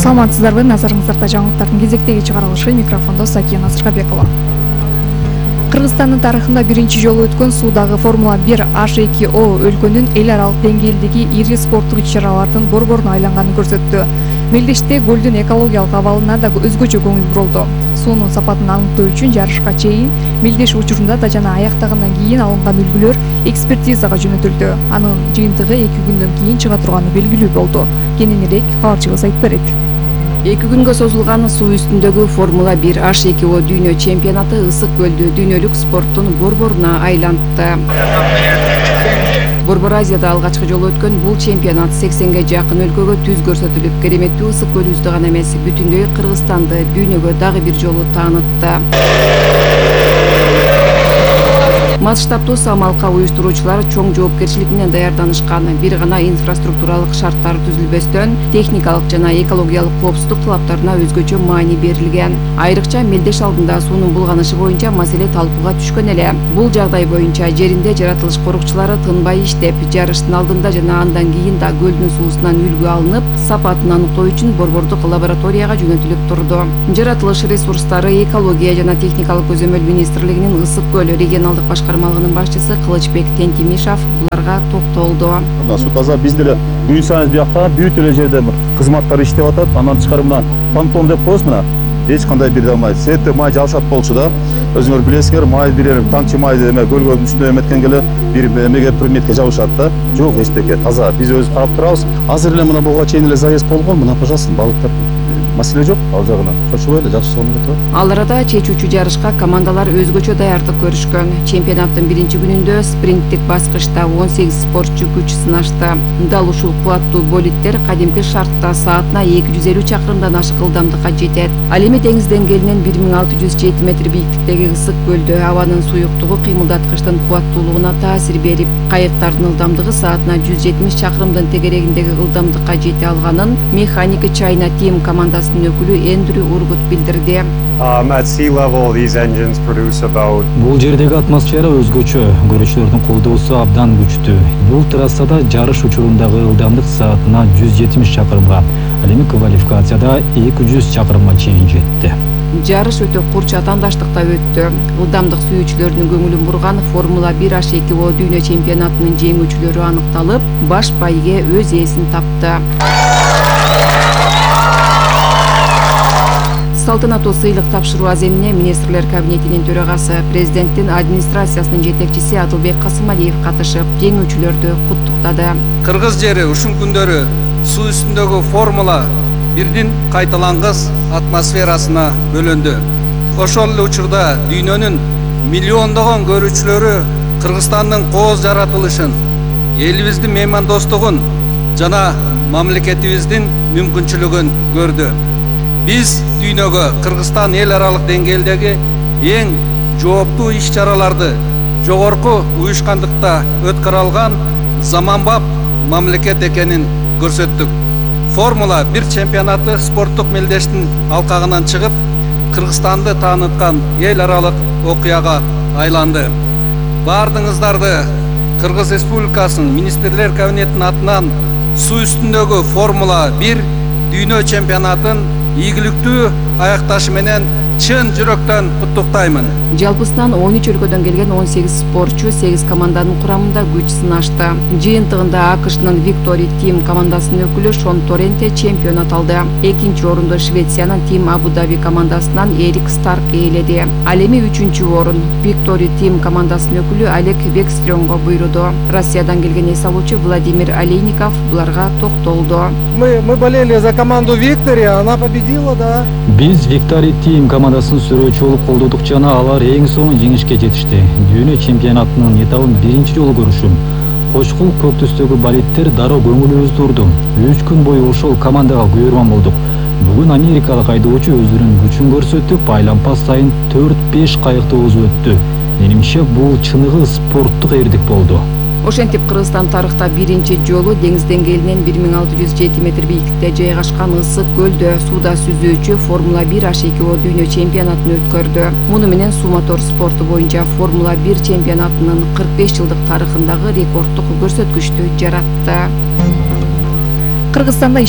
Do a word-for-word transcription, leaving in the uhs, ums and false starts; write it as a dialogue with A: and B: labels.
A: Саламатсыздарбы, назарыңыздарда жаңылыктардын кезектеги чыгарылышы, микрофондо Сакия Насыркабекова. Кыргызстандын тарыхында биринчи жолу өткөн суудагы Формула бир H эки O өлкөнүн эл аралык деңгээлдеги ири спорттук иш-чаралардын борборуна айланганын көрсөттү. Мелдеште көлдүн экологиялык абалына да өзгөчө көңүл бурулду. Суунун сапатын аныктоо үчүн жарышка чейин Мелдеш учурунда да жана аяктагандан кийин алынган үлгүлөр экспертизага жөнөтүлдү. Анын жыйынтыгы эки күндөн кийин чыга турганы белгилүү болду. Кененирээк кабарчыбыз айтып берет.
B: Эки күнгө созулган суу үстүндөгү Формула бир H эки O дүйнө чемпионаты ысык көлдү дүйнөлүк спорттун борборуна айлантты. Борбор Азияда алгачкы жолу өткөн бул чемпионат сексенге жакын өлкөгө түз көрсөтүлүп, кереметтүү ысык көлүбүздү гана эмес, бүтүндөй Кыргызстанды дүйнөгө дагы бир жолу таанытты. Масштабтуу самалка уюштуруучулар чоң жоопкерчилик менен даярданышкан. Бир гана инфраструктуралык шарттар түзүлбөстөн, техникалык жана экологиялык коопсуздук талаптарына өзгөчө маани берилген. Айрыкча Мелдеш алдында суунун булганышы боюнча маселе талкууга түшкөн эле. Бул жагдай боюнча жеринде жаратылыш корукчулары тынбай иштеп, жарыштын алдында жана андан кийин да көлдүн суусунан үлгү алынып, сапатын аныктоо үчүн борбордук лабораторияга жөнөтүлүп турду. Жаратылыш ресурстары, экология жана техникалык көзөмөл министрлигинин ысык көл регионалдык башкармалыгынын башчысы Кылычбек Тентимишов буларга токтолду.
C: Суу таза, биз деле күн сайын биякта бүт эле жерде кызматтар иштеп атат. Анан тышкары мына понтон деп коебуз, мына эч кандай бир май, сетте май жабышат болчу да. Өзүңөр билесиңер, май бир тамчы май эме көлгөн үстүнө эметкенге эле бир эмеге предметке жабышат да. Жок, эчтеке таза. Биз өзүбүз карап турабыз. Азыр эле мына буга чейин эле заезд болгон. Мына, пожалуйста, балыктар маселе жок ал жагынан. Чочубой эле жакшы сонун кетип.
B: Ал арада чечүүчү жарышка командалар өзгөчө даярдык көрүшкөн. Чемпионаттын биринчи күнүндө спринттик баскычта он сегиз спортчу күч сынашты. Дал ушул кубаттуу болиттер кадимки шартта саатына эки жүз элүү чакырымдан ашык ылдамдыкка жетет. Ал эми деңиз деңгээлинен бир миң алты жүз жети метр бийиктиктеги ысык көлдө абанын суюктугу кыймылдаткычтын кубаттуулугуна таасир берип, кайыктардын ылдамдыгы саатына жүз жетимиш чакырымдын тегерегиндеги ылдамдыкка жете алганын механика China Team командасы өкүлү Эндрю Ургут билдирди.
D: Бул жердеги атмосфера өзгөчө, көрүүчүлөрдүн колдоосу абдан күчтүү. Бул трассада жарыш учурундагы ылдамдык саатына жүз жетимиш чакырымга, ал эми квалификацияда эки жүз чакырымга чейин жетти.
B: Жарыш өтө курч атаандаштыкта өттү. Ылдамдык сүйүүчүлөрдүн көңүлүн бурган Формула бир H эки O дүйнө чемпионатынын жеңүүчүлөрү аныкталып, баш байге өз ээсин тапты. Салтанаттуу сыйлык тапшыруу аземине министрлер кабинетинин төрагасы, президенттин администрациясынын жетекчиси Адылбек Касымалиев катышып, жеңүүчүлөрдү куттуктады.
E: Кыргыз жери ушул күндөрү суу үстүндөгү Формула бирдин кайталангыс атмосферасына бөлөндү. Ошол эле учурда дүйнөнүн миллиондогон көрүүчүлөрү Кыргызстандын кооз жаратылышын, элибиздин меймандостугун жана мамлекетибиздин мүмкүнчүлүгүн көрдү. Биз дүйнөгө Кыргызстан эл аралык деңгээлдеги эң жооптуу иш-чараларды жогорку уюшкандыкта өткөрө алган заманбап мамлекет экенин көрсөттүк. Формула бир чемпионаты спорттук мелдештин алкагынан чыгып, Кыргызстанды тааныткан эл аралык окуяга айланды. Баардыгыңыздарды Кыргыз Республикасынын министрлер кабинетинин атынан суу үстүндөгү Формула бир дүйнө чемпионатын ийгиликтүү аякташы менен чын жүрөктөн куттуктаймын.
B: Жалпысынан он үч өлкөдөн келген он сегиз спортчу сегиз команданын курамында күч сынашты. Жыйынтыгында АКШнын Victory Team командасынын өкүлү Шон Торренте чемпионат алды. Экинчи орунду Швециянын Team Abu Dhabi командасынан Эрик Старк ээледи. Ал эми үчүнчү орун Victory Team командасынын өкүлү Олег Бекстрёмго буйруду. Россиядан келген эс алуучу Владимир Олейников буларга токтолду.
F: Мы мы болели за команду Victory, она победила, да.
D: Биз Victory Team командасын сүрөөчү болуп колдодук жана алар эң соң жеңишке жетишти. Дүйнө чемпионатынын этабын биринчи жолу көрүшүм. Кочкул көк түстөгү болиттер дароо көңүлүбүздү урду. үч күн бою ошол командага күйөрман болдук. Бүгүн америкалык айдоочу өзүнүн күчүн көрсөтүп, айланпа сайын төрт беш кайыкты узуп өттү. Менимче бул чыныгы спорттук эрдик болду.
B: Ошентип Кыргызстан тарыхта биринчи жолу деңиз деңгээлинен бир миң алты жүз жети метр бийиктикте жайгашкан ысык көлдө сууда сүзүүчү Формула бир H эки O дүйнө чемпионатын өткөрдү. Муну менен суу мотор спорту боюнча Формула бир чемпионатынын кырк беш жылдык тарыхындагы рекорддук көрсөткүчтү жаратты.
A: Кыргызстанда